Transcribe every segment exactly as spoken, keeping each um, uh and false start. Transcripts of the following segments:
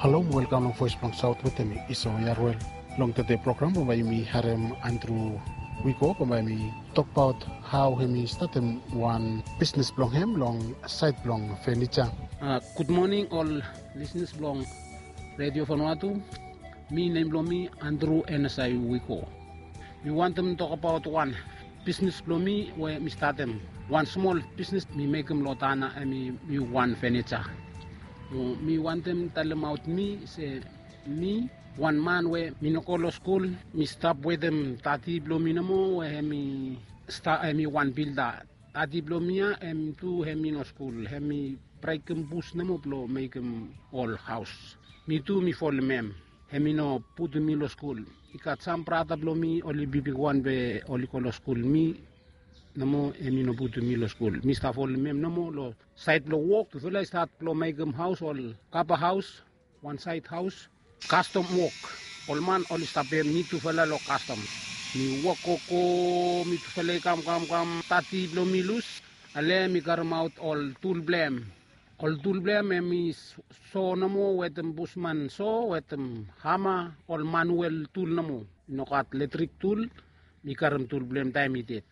Halo, welkam long Voes blong Saot wetem mi, Iso Yarwel. Long tede program bambae yumi harem Andrew Wiko bambae yumi tokbaot hao hemi statem wan bisnes blong hem long saed blong fenija. Gud moning ol lisnas blong Redio Vanuatu. Mi, nem blong mi Andrew Enesai Wiko. Mi wantem tokbaot wan bisnes blong mi we mi statem. Wan smol bisnes mi mekem long taon ya, hemi mi wan fenija. Mi wantem talemaot mi se mi wan man we mi no go long skul. Mi stap wetem dadi blong mi nomo we hemi sta hemi wan bilda. Dadi blong mi ya hem tu hemi no skul, hemi brekem bus nomo blong mekem ol haos. Mi tu mi folem hem. Hemi no putum mi long skul. I gat sam brata blong mi oli bigbigwan be oli go long skul. Mi nomo hemi no putum mi long skul. Mi stap folem hem nomo long saed blong wok. Tufala i stat blong mekem haos, ol kapa haos. Wan saed haos. Kastom wok. Ol man oli stap pem mi tufala long kastom. Mi wok gogo, mi tufala i kam kam kam. Dadi blong mi lus. Ale mi karemaot ol tul blong hem. Ol tul blong hem hemi so nomo wetem busman so wetem hama, ol manuel tul nomo. I no gat letrik tul. Mi karem tul blong hem taem i ded.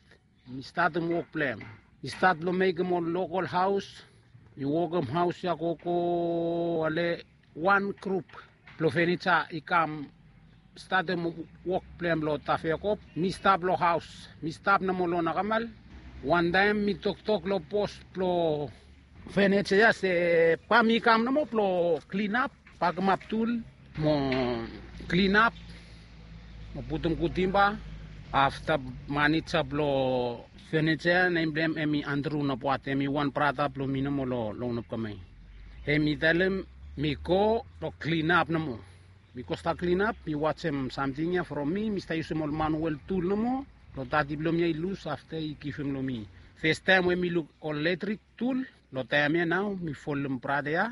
Mi statem wok blong hem. Mi stat long mekem ol lokol haos. Mi wokem haos ya gogo. Ale wan grup blong fenija i kam statem wok blong hem long Tafeakop. Mi stap long haos. Mi stap nomo long Nakamal. Wantaem mi toktok long bos blong fenija ya se bae mi kam nomo blong klinap, bakemap tul mo klinap mo putum gud timba. Afta manija blong fenija ya, nem blong hem hemi Andrew Naboat, hemi wan brata blong mi nomo long Nopkamai. Hemi talem mi go long klinap nomo. Mi go stap klinap, mi wajem samting ya from mi. Mi stap yusum ol manuel tul nomo blong dadi blong mi ya i lus afta i givim long mi. Festaem we mi luk ol letrik tul long taem ya nao mi folem brata ya.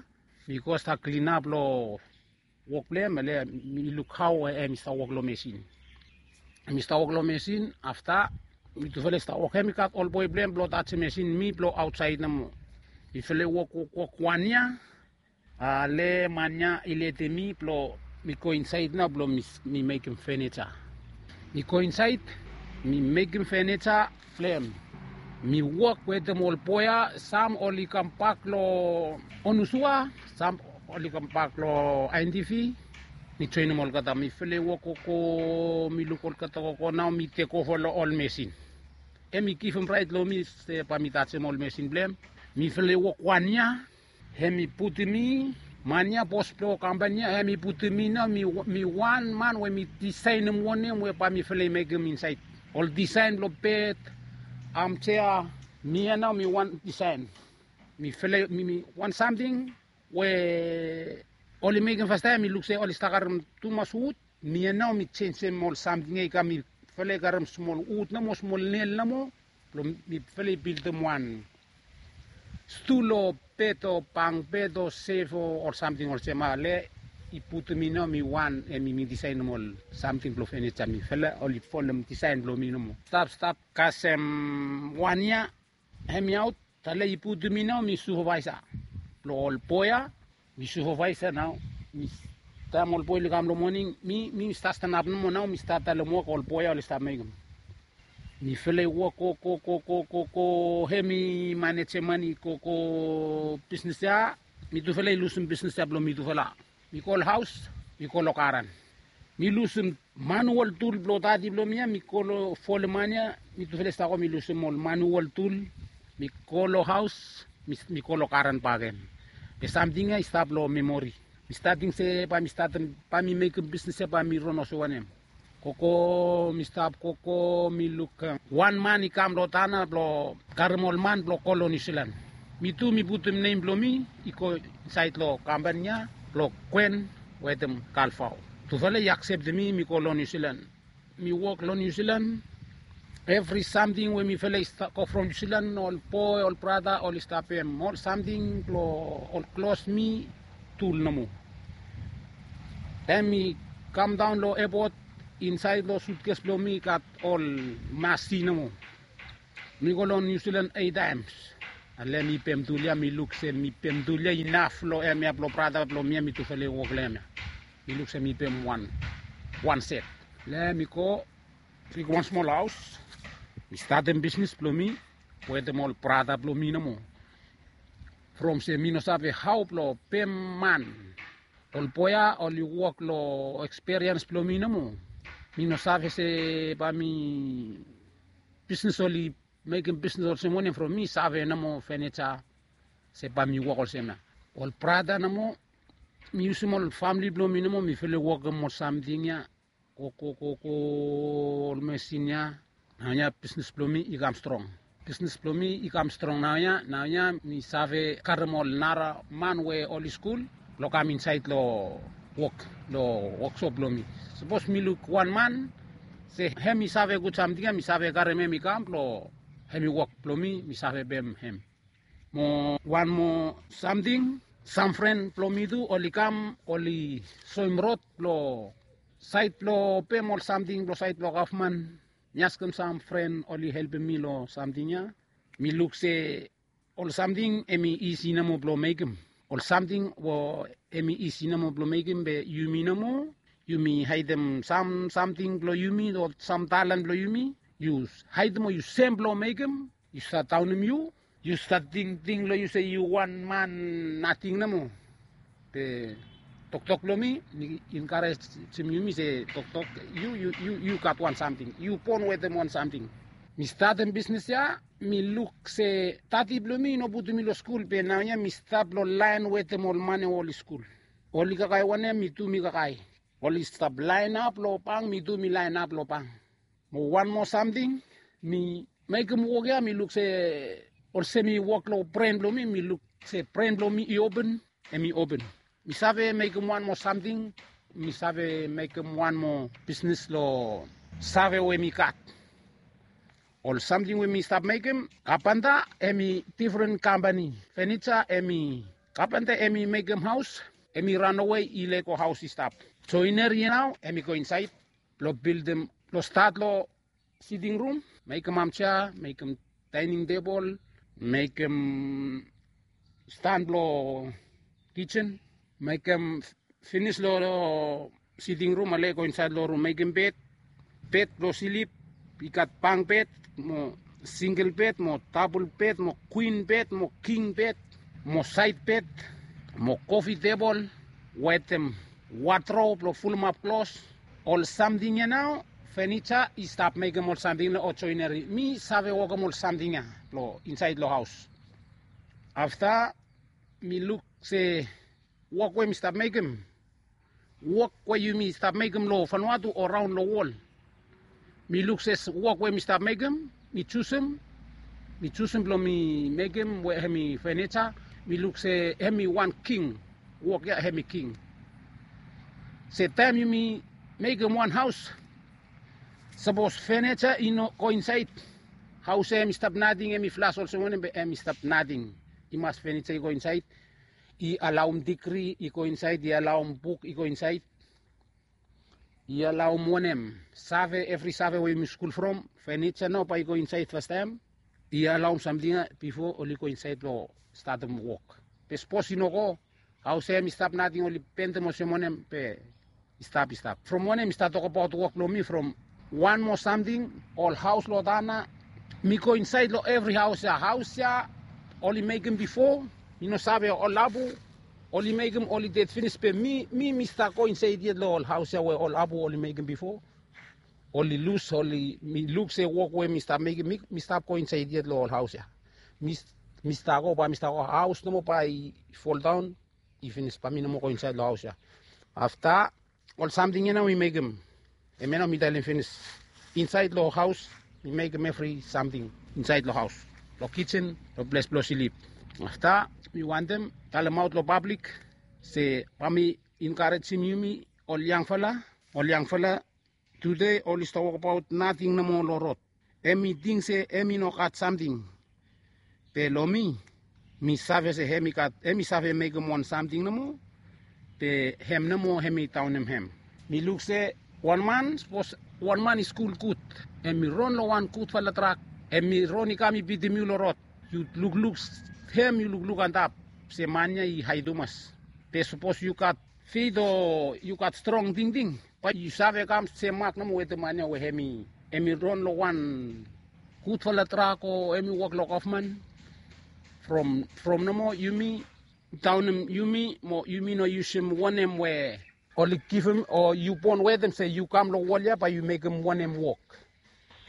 Mi go stap klinap long wok blong hem, ale mi luk hao hemi stap wok long mesin. Mi stap wok long mesin, afta mi tufala i stap wok. Hemi gat ol boe blong hem blong tajem mesin, mi blong aotsaed nomo. Mifala i wok wok wok wan yia. Ale man ya i letem mi blong mi go insaed nao blong mi mekem fenija. Mi go insaed, mi mekem fenija blong hem. Mi wok wetem ol boe ya, sam oli kambak long Onusua, sam oli kambak long Aentifi. Mi joenem olgeta, mifala i wok gogo, mi luk olgeta gogo, nao mi tekova long ol mesin. Hemi givim raet long mi se bae mi tajem ol mesin blong hem. Mifala i wok wan yia. Hemi putum mi, man ya, bos blong kampan ya, hemi putum mi nao mi wan man we mi disaenem wanem we bae mifala i mekem insaed. Ol disaen blong bed, amjea, mi ya nao mi wan disaen. Mifala i, mi wan samting we oli mekem fastaem, mi luk se oli stap karem tumas wud. Mi ya nao mi jenjem ol samting ya i kam, mifala i karem smol wud nomo, smol nel nomo blong mifala i bildim wan stul o bed o bank bed o sef o ol samting olsem, ale i putum mi nao mi wan, hemi mi disaenem ol samting blong fenija. Mifala oli folem disaen blong mi nomo. Stap stap kasem wan yia, hemi aot. Ale i putum mi nao mi supavaesa blong ol boe ya. Mi supavaesa nao. Taem ol boe oli kam long moning, mi mi stap stanap nomo nao, mi stap talem wok, ol boe ya oli stap mekem. Mifala i wok gogo gogo gogo, hemi maneja man i gogo bisnes ya. Mitufala i lusum bisnes ya blong mitufala. Mi go long haos, mi go long garan. Mi lusum manual tul blong dadi blong mi ya, mi go long folem man ya. Mitufala i stap go, mi lusum ol manual tul. Mi go long haos, mi go long garan bakegen. Be samting ya i stap long memori. Mi stap ting se bae mi statem, bae mi mekem bisnes ya, bae mi ron olsem wanem. Gogo, mi stap gogo, mi luk wan man i kam long taon ya blong karem ol man blong go long Niu Silan. Mi tu mi putum nem blong mi i go insaed long kampan ya blong Gwen wetem Kalvao. Tufala i akseptem mi, mi go long Niu Silan. Mi wok long Niu Silan. Evri samting we mifala i stap go from Niu Silan, ol boe, ol brata oli stap pem. Ol samting blong ol klos mi, tul nomo. Taem mi kamdaon long epot, insaed long sutkes blong mi i gat ol masi nomo. Mi go long Niu Silan eit taems. Long hem i pem tul ya, mi luk se mi pem tul ya inaf long hem ya blong brata blong mi ya, mi tufala i wok long hem ya. Mi luk se mi pem wan wan set. Long hem i go bik wan smol haos. Mi statem bisnis blong mi wetem ol brata blong mi nomo. From se mi no save hao blong pem man. Ol boe ya oli wok long ekspiriens blong mi nomo. Mi no save se bae mi bisnis oli mekem bisnis olsem wanem. From mi save nomo fenija se bae mi wok olsem ya. Ol brata nomo, mi yusum ol famili blong mi nomo, mifala i wokem ol samting ya. Go go go go ol mesin ya. Naoia bisnis blong mi i kam strong. Bisnis blong mi i kam strong naoia. Naoia mi save karem ol nara man we oli skul blong kam insaed long wok, long woksop blong mi. Sapos mi luk wan man se hem i save gud samting ya, mi save karem hem i kam blong hem i wok blong mi, mi save pem hem. Mo wan moa samting, sam fren blong mi tu oli kam, oli soem rod blong saed blong pem ol samting blong saed blong gavman. Mi askem sam fren oli helpem mi long samting ya. Mi luk se ol samting hem i isi nomo blong mekem. Ol samting we hem i isi nomo blong mekem be yumi nomo. Yumi haedem sam samting blong yumi o sam talen blong yumi. Yu haedem o yu sem blong mekem. Yu stat daonem yu. Yu stat tingting long yu se yu wan man nating nomo. Be toktok blong mi mi enkarejem yumi se toktok, yu yu yu yu gat wan samting, yu bon wetem wan samting. Mi statem bisnis ya, mi luk se dadi blong mi i no putum mi long skul, be naoia mi stap long laen wetem ol man we oli skul. Oli kakae wanem, mi tu mi kakae. Oli stap laenap long bank, mi tu mi laenap long bank. Mo wan moa samting, mi mekem wok ya, mi luk se olsem i wok long bren blong mi, mi luk se bren blong mi i open, hem i open. Mi save mekem wan moa samting, mi save mekem wan moa bisnis long save we mi gat. Ol samting we mi stap mekem, kapenta hem i difren kampani. Fenija hem i, kapenta hem i mekem haos, hem i ranawe, i lego haos i stap. Joineri ya nao hem i go insaed blong bildim, blong stat long siting rum, mekem amjea, mekem daening tebol, mekem stan blong kijen, mekem finis long siting rum, ale go insaed long rum, mekem bed, bed blong slip. I gat bank bed mo singel bed mo dabol bed mo kwin bed mo king bed mo saed bed mo kofi tebol wetem wadrop blong fulumap klos. Ol samting ya nao, fenija i stap mekem ol samting ya, ol joineri. Mi save wokem ol samting ya blong insaed long haos. Afta mi luk se wok we mi stap mekem, wok we yumi stap mekem long Vanuatu o raon long wol. Mi luk se wok we mi stap mekem, mi jusum, mi jusum blong mi mekem we hem i fenija. Mi luk se hem i wan king, wok ya hem i king. Se taem yumi mekem wan haos, sapos fenija i no go insaed, haos ya hem i stap nating, hem i flas olsem wanem be hem i stap nating. I mas fenija i go insaed. I alaom digri i go insaed, i alaom buk i go insaed, i alaom wanem, save, evri save we yumi skul from, fenija nao bae i go insaed fastaem. I alaom samting ya bifo oli go insaed blong statem wok. Be sapos i no go, haos ya hem i stap nating, oli benem olsem wanem be i stap, i stap. From wanem mi stat tokbaot wok blong mi from wan moa samting, ol haos long taon ya, mi go insaed long evri haos ya. Haos ya oli mekem bifo, mi no save, ol abu oli mekem, oli ded finis, be mi, mi, mi stap go insaed yet long ol haos ya we ol abu oli mekem bifo. Oli lus, oli, mi luk se wok we mi stap mekem, mi, mi stap go insaed yet long ol haos ya. Mi, mi stap go, bae mi stap go, haos nomo bae i foldaon, i finis, bae mi no moa go insaed long haos ya. Afta ol samting ya nao mi mekem, hemia nao mi talem finis. Insaed long haos mi mekem evri samting insaed long haos, long kijen, long ples blong slip. Afta mi wantem talemaot long pablik se bae mi enkarejem yumi ol yangfala, ol yangfala tude oli stap wokbaot nating nomo long rod. Hem i ting se hem i no gat samting. Be long mi, mi save se hem i gat, hem i save mekem wan samting nomo. Be hem nomo hem i daonem hem. Mi luk se wan man, sapos wan man i skul gud, hem i ron long wan gudfala trak, hem i ron i kam i bitim yu long rod. Yu lukluk hem yu lukluk antap se man ya i hae tumas. Be sapos yu gat feit o yu gat strong tingting, bae yu save kam se mak nomo wetem man ya we hem i hem i ron long wan gudfala trak o hem i wok long gavman. From from nomo yumi daonem yumi mo yumi no yusim wanem we oli givim o yu bon wetem se yu kam long wol ya bae yu mekem wanem wok.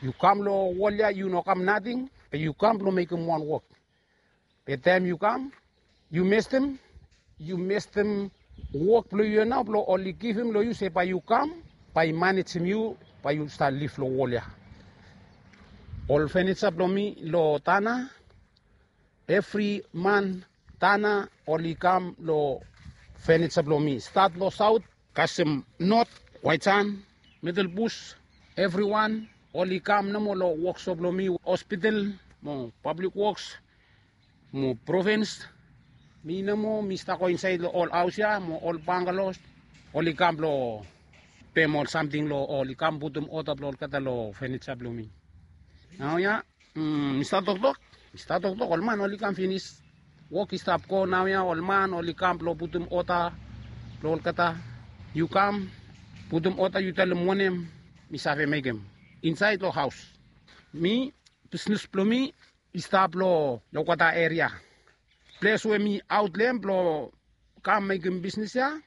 Yu kam long wol ya yu no kam nating, be yu kam blong mekem wan wok. Be taem yu kam, yu mestem, yu mestem wok blong yu ya nao blong oli givim long yu se bae yu kam, bae i manejem yu, bae yu stap liv long wol ya. Ol fenija blong mi long Tanna, evri man Tanna oli kam long fenija blong mi. Stat long saot, kasem not, Waitsan, Middle Bush, evriwan oli kam nomo long woksop blong mi, hospital mo public works mo provins. Mi nomo mi stap go insaed long ol haos ya mo ol bangalos, oli kam blong pem ol samting long oli kam putum oda blong olgeta long fenija blong mi. Naoia, mm, mi stap toktok, mi stap toktok, ol man oli kam finis. Wok i stap go naoia, ol man oli kam blong putum oda blong olgeta. Yu kam putum oda, yu talem wanem mi save mekem insaed long haos. Mi, bisnis blong mi i stap long Lokata eria. Ples we mi aot long hem blong kam mekem bisnis ya,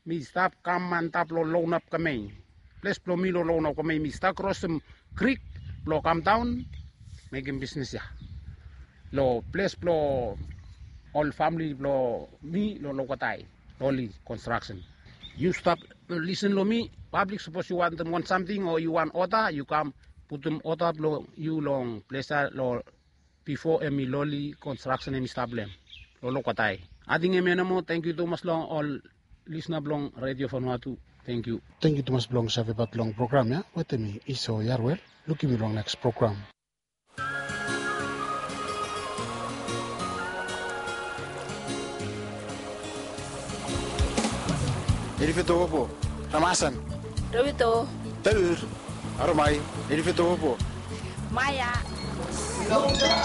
mi stap kam antap long Lounap Kamai. Ples blong mi long Lounap Kamai, mi stap krosem krik blong kam daon mekem bisnis ya. Long ples blong ol famle blong mi long Lokata, Loli Construction. Yu stap lisin long mi, pablik, sapos yu wantem wan samting o yu wantem oda, yu kam putum oda blong yu long ples ya long bifo hem i Loli Construction hem i stap long hem long Lokata. Ating hemia nomo, tangkiu tumas long ol lisna blong Redio Vanuatu. Tangkiu. Tangkiu tumas blong savebat long program ya wetem mi Iso Yarwel. Lukim yu long neks program. Erifetowopo, Ramasan, Rowito, Taur, Aromai, Erifetowopo, Maya.